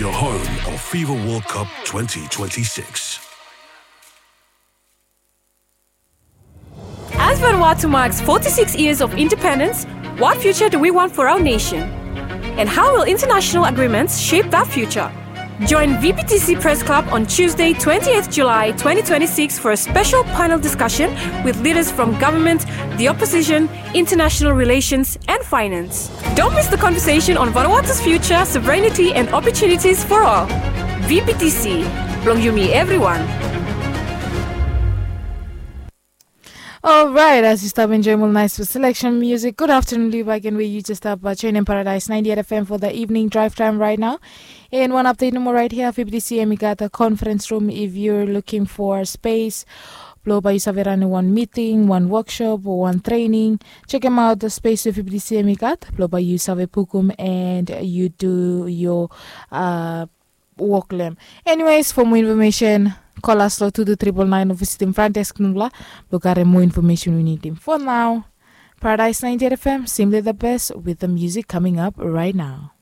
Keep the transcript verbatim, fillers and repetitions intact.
Your home of FIFA World Cup twenty twenty-six. As Vanuatu marks forty-six years of independence, what future do we want for our nation? And how will international agreements shape that future? Join V B T C Press Club on Tuesday, twentieth July twenty twenty-six, for a special panel discussion with leaders from government, the opposition, international relations, and finance. Don't miss the conversation on Vanuatu's future, sovereignty, and opportunities for all. V B T C, blong yumi everyone. Alright, as yu stap enjoy more nice selection music, good afternoon to you back and where you just stap uh, tune in Paradise ninety-eight F M for the evening drive time right now. And one update no more right here, V B T C, and we got a conference room. If you're looking for a space, blo bae yu save run one meeting, one workshop, or one training, check him out the space with V B T C, and we got blo bae yu save pukum and you do your uh, wok long hem. Anyways, for more information, call us lo two two triple nine o visitim front desk nubla blo karem more information we nidim. For now, Paradise ninety-eight F M, simply the best with the music coming up right now.